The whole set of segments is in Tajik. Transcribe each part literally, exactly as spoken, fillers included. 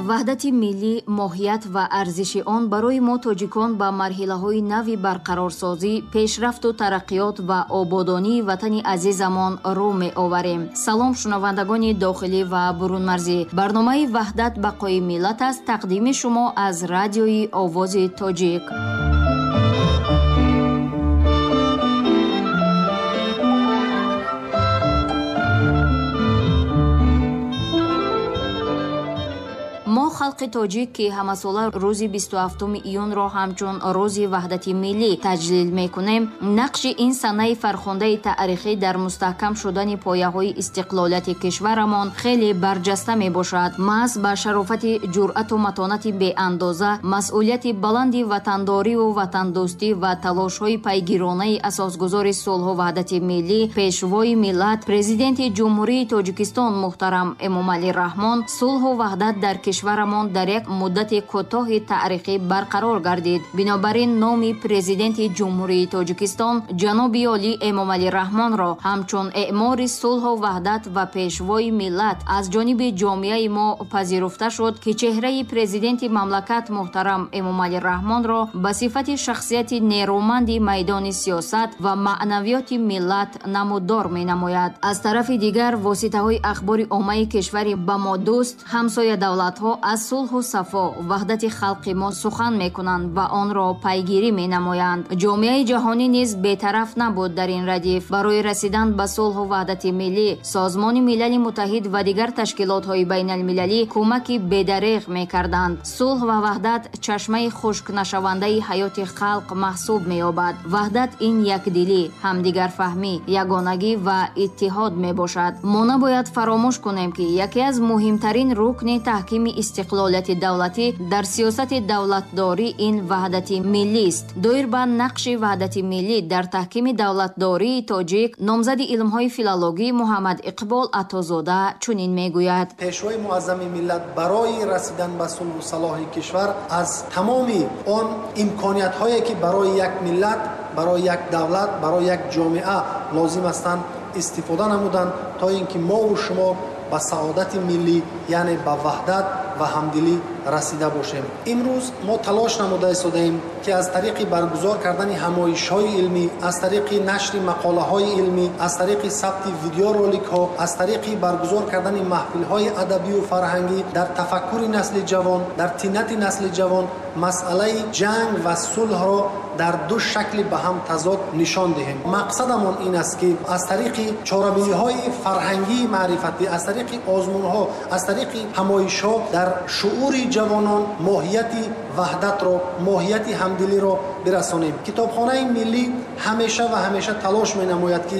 Ваҳдати миллӣ, моҳият ва арзиши он барои мо тоҷикон ба марҳилаҳои нави барқарорсозӣ, пешрафту тараққиёт ва ободонии ватани азизамон рӯ меоварем. Салом шунавандагони дохилӣ ва бурунмарзӣ. Барномаи Ваҳдат бақои миллат аст, тақдими шумо аз радиои Овози Тоҷик. Мо халқи тоҷик, ки ҳамасола рӯзи бисту ҳафтуми июнро ҳамчун рӯзи ваҳдати миллӣ таҷлил мекунем, нақши ин санаи фархундаи таърихӣ дар мустаҳкам шудани пояҳои истиқлолияти кишварамон хеле барҷаста мебошад. Маҳз ба шарофати ҷуръату матонати беандоза, масъулияти баланди ватандориву ватандӯстӣ ва талошҳои пайгиронаи асосгузори сулҳу ваҳдати миллӣ, пешвои миллат, президенти Ҷумҳурии Тоҷикистон муҳтарам Эмомалӣ Раҳмон, сулҳу ваҳдат дар кишварамон дар як муддати кӯтоҳи таърихӣ барқарор гардид. Бинобар ин номи президенти Ҷумҳурии Тоҷикистон ҷаноби олӣ Эмомалӣ Раҳмонро ҳамчун эъмори сулҳу ваҳдат ва пешвои миллат аз ҷониби ҷомеаи мо пазируфта шуд, ки чеҳраи президенти мамлакат муҳтарам Эмомалӣ Раҳмонро ба сифати шахсияти нерӯманди майдони сиёсат ва маънавиёти миллат намуддор менамояд. Аз тарафи дигар, воситаҳои ахбори оммаи кишвари ба мо дӯст, ҳамсоя давлатҳо аз сулҳу сафо, ваҳдати халқи мо сухан мекунанд ва онро пайгирӣ менамоянд. Ҷомеаи ҷаҳонӣ низ бетараф набуд дар ин радиф. Барои расидан ба сулҳу ваҳдати миллӣ, Созмони Милали Муттаҳид ва дигар ташкилотҳои байналмилалӣ кӯмаки бедареғ мекарданд. Сулҳ ва ваҳдат чашмаи хушкнашавандаи ҳаёти халқ маҳсуб меёбад. Ваҳдат ин якдилӣ, ҳамдигарфаҳмӣ, ягонагӣ ва иттиҳод мебошад. Мо набояд фаромӯш кунем, ки яке аз муҳимтарин рукни таҳкими истиқлолияти давлатӣ дар сиёсати давлатдорӣ ин ваҳдати миллист. Доир ба нақши ваҳдати миллӣ дар таҳкими давлатдории тоҷик, номзади илмҳои филологӣ Муҳаммад Иқбол Атозода чунин мегӯяд: Пешвои муаззами миллат барои расидан ба сулҳу салоҳи кишвар аз тамоми он имкониятҳое ки барои як миллат, барои як давлат, барои як ҷомеа лозим ҳастанд, истифода намуданд, то ин ки мову шумо ба саодати миллӣ, яъне ба ваҳдат ва ҳамдилӣ расида бошем. Имрӯз мо талош намуда истодаем, ки аз тариқи баргузор кардани ҳамоишҳои илмӣ, аз тариқи нашри мақолаҳои илмӣ, аз тариқи сабти видеороликҳо, аз тариқи баргузор кардани маҳфилҳои адабию фарҳангӣ дар тафаккури насли ҷавон, дар тинати насли ҷавон масъалаи ҷанг ва сулҳро дар ду шакли ба ҳам тазод нишон диҳем. Мақсадамон ин аст, ки аз тариқи чорабиниҳои фарҳангии маърифатӣ, аз тариқи озмунҳо, аз тариқи ҳамоишҳо дар шуури ҷавонон моҳияти ваҳдатро, моҳияти ҳамдилиро бирасонем. Китобхонаи миллӣ ҳамеша ва ҳамеша талош менамояд, ки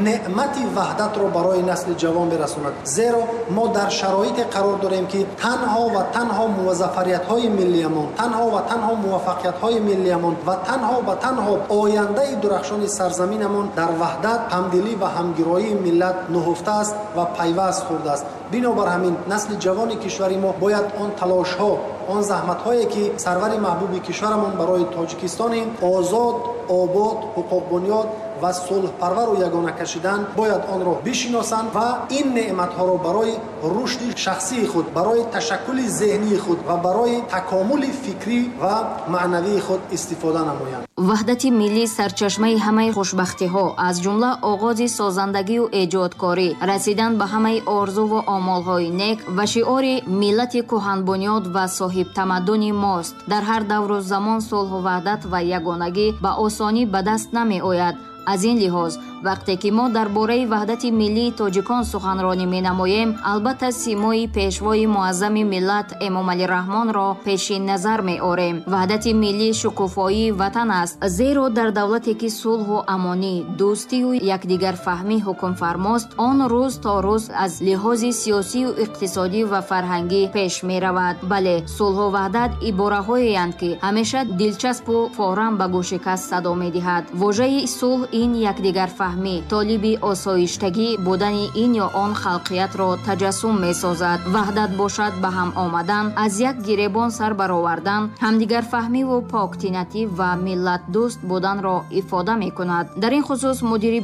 неъмати ваҳдатро барои насли ҷавон бирасонад. Зеро мо дар шароите қарор дорем, ки танҳо ва танҳо музаффариятҳои миллиямон, танҳо ва танҳо муваффақиятҳои миллиямон ва танҳо ва танҳо ояндаи дурахшони сарзаминамон дар ваҳдат, ҳамдилӣ ва ҳамгироии миллат нуҳуфта аст ва пайваст хурдааст. Бинобар ҳамин насли ҷавони кишвари мо бояд он талошҳо, он заҳматҳое ки сарвари маҳбуби кишварамон барои Тоҷикистони озод, обод, ҳуқуқбунёд ва сулҳпарвару ягона кашидан, бояд онро бишиносанд ва ин неъматҳоро барои рушди шахсии худ, барои ташаккули зеҳнии худ ва барои такомули фикрӣ ва маънавии худ истифода намоянд. Ваҳдати миллӣ сарчашмаи ҳамаи хушбахтиҳо, аз ҷумла оғози созандагию эҷодкорӣ, расидан ба ҳамаи орзуву омолҳои нек ва шиори миллати кӯҳанбунёд ва соҳибтамаддуни мост. Дар ҳар давру замон сулҳу ваҳдат ва ягонагӣ ба осонӣ ба даст намеояд. Аз ин лиҳоз, вақте ки мо дар бораи ваҳдати миллии тоҷикон суханронӣ менамоем, албатта симои пешвои муаззами миллат Эмомалӣ Раҳмонро пеши назар меорем. Ваҳдати миллӣ шукуфоии ватан аст, зеро дар давлате ки сулҳу амонӣ, дӯстию якдигарфаҳмӣ ҳукмфармост, он рӯз то рӯз аз лиҳози сиёсию иқтисодӣ ва фарҳангӣ пеш меравад. Бале, сулҳу ваҳдат ибораҳоеянд, ки ҳамеша дилчаспу форам ба гӯши кас садо медиҳад. Вожаи сулҳ ин якдигарфаҳмӣ, толиби осоиштагӣ будани ин ё он халқиятро таҷассум месозад. Ваҳдат бошад ба ҳам омадан, аз як гиребон сар баровардан, ҳамдигарфаҳмиву поктинатӣ ва миллатдӯст буданро ифода мекунад. Дар ин хусус мудири